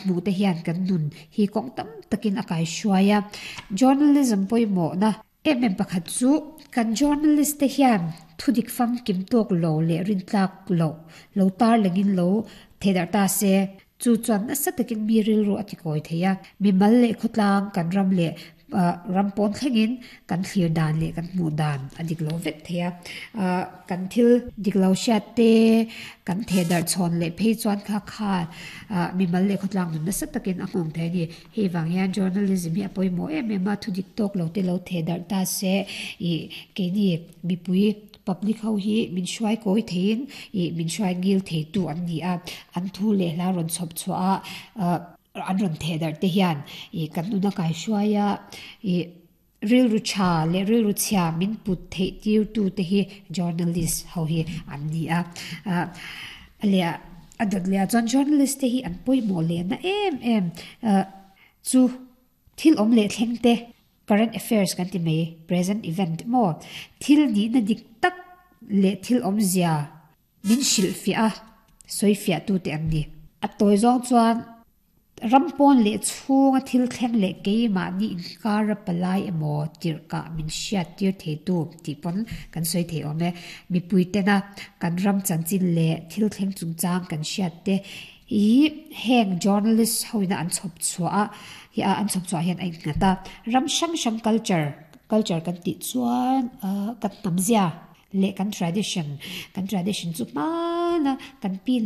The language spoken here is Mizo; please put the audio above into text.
Hmuh te hian kan nun hi kawng tam takin a kaihruai a. Journalism pawimawhna em em pakhat chu kan journalist te hian thudik famkim tawk lo leh rintlak loh lo tarlangin lo thehdarh ta se. Chu chuan nasa takin mi rilru a tikawi thei a. Mimal leh khawtlang kan ram leh ram pawn thlengin kan thlir dan leh kan hmuh dan a dik lo vek thei a. Kan thil dik lo hriat te, kan theh darh chhawn leh phei chuan kha kha mimal leh khawtlang nun nasa takin a nghawng thei a ni. Hei vang hian journalism hi a pawimawh em em a, thu dik tawk lo te lo theh darh ta se ih keini mipui public ho hi min hruai kawi theiin ih min hruai ngil theitu an ni a, an thu leh hla rawn chhawp chhuah a an rawn theh darh te hian ih kan nuna kaihruai a ih rilru tha leh rilru chhia min put theih tir tu te hi journalist ho hi an ni a ah a leh a dawt leh ah chuan journalist te hi an pawimawh leh na em em ah chu thil awm leh thleng te current affairs kan ti mai present event maw thil nihna dik tak leh thil awmzia Min hrilhfiah a, sawifiahtute an ni. A tawi zawng chuan ram pawn leh chhunga thil thleng leh keimahni inkara palai emaw tirhkah min hriattir theitu tih pawn kan sawi thei awm e. Mipui tena kan ram chanchin leh thil thleng chungchang kan hriat te hi heng journalist hoina an chhawp chhuah a, an chhawp chhuah hian a innghat a. Ram hrang hrang culture, culture kan tih chuan kan hnamzia, Leh kan tradition, kan tradition chu hmana kan pi leh.